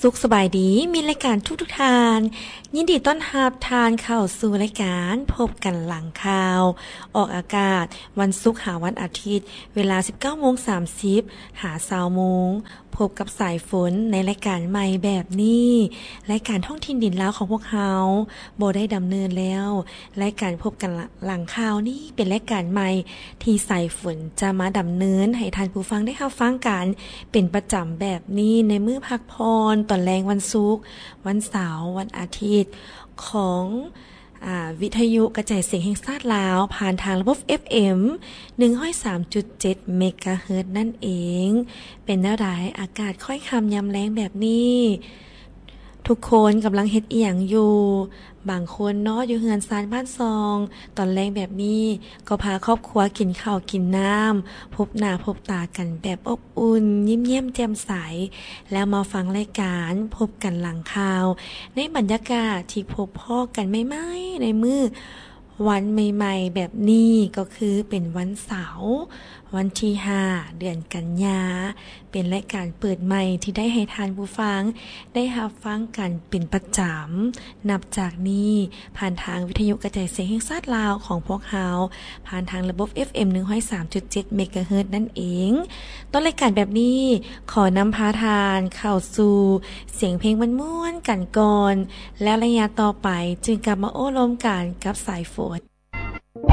ສຸກສະບາຍດີ ມິດລາຍການທຸກໆທ່ານ, ຍິນດີຕ້ອນຮັບທ່ານເຂົ້າສູ່ລາຍການພົບກັນຫຼັງຂ່າວ, ອອກອາກາດວັນສຸກຫາວັນອາທິດ ເວລາສິບເກົ້າໂມງສາມສິບຫາຊາວໂມງ. ພົບກັບສາຍຝົນໃນລາຍການໃໝ່ແບບນີ້. ລາຍການທ້ອງຖິ່ນດິນລາວຂອງພວກເຮົາບໍ່ໄດ້ດຳເນີນແລ້ວ. ລາຍການພົບກັນຫຼັງຂ່າວນີ້ເປັນລາຍການໃໝ່ທີ່ສາຍຝົນຈະມາດຳເນີນໃຫ້ທ່ານຜູ້ຟັງໄດ້ຮັບຟັງກັນເປັນປະຈຳແບບນີ້ ໃນມື້ພັກຜ່ອນຕອນແລງວັນສຸກ, ວັນເສົາ, ວັນອາທິດ ຂອງ ອາ ວິທະຍຸກະຈາຍສຽງແຫ່ງຊາດລາວ ຜ່ານທາງລະບົບ ເອັຟເອັມ ໜຶ່ງຮ້ອຍສາມຈຸດເຈັດ ເມກາເຮີດ ນັ້ນເອງ. ເປັນແນວໃດ ອາກາດຄ້ອຍຄ່ຳຍາມແລງແບບນີ້? ທຸກຄົນກຳລັງເຮັດອີ່ຫຍັງຢູ່? ບາງຄົນເນາະ ຢູ່ເຮືອນຊານບ້ານຊ່ອງ ຕອນແລງແບບນີ້ ກໍພາຄອບຄົວກິນເຂົ້າກິນນ້ຳ, ພົບໜ້າພົບຕາກັນແບບອົບອຸ່ນ, ຍິ້ມແຍ້ມແຈ່ມໃສ ແລ້ວມາຟັງລາຍການພົບກັນຫຼັງຂ່າວ ໃນບັນຍາກາດທີ່ພົບພໍ້ກັນໃໝ່ໆ ໃນມື້ວັນໃໝ່ໆ ແບບນີ້ ກໍຄືເປັນວັນເສົາ ວັນທີຫ້າ ເດືອນກັນຍາ. ເປັນລາຍການເປີດໃໝ່ທີ່ໄດ້ໃຫ້ທ່ານຜູ້ຟັງໄດ້ຮັບຟັງກັນເປັນປະຈຳ ນັບຈາກນີ້ ຜ່ານທາງວິທະຍຸກະຈາຍສຽງແຫ່ງຊາດລາວຂອງພວກເຮົາ ຜ່ານທາງລະບົບ ເອັຟເອັມ ໜຶ່ງຮ້ອຍສາມຈຸດເຈັດ ເມກາເຮີດ ນັ້ນເອງ. ຕອນລາຍການແບບນີ້ ຂໍນຳພາທ່ານເຂົ້າສູ່ສຽງເພງມ່ວນໆກັນກ່ອນ ແລ້ວໄລຍະຕໍ່ໄປຈຶ່ງກັບມາໂອ້ລົມກັນກັບສາຍຝົນ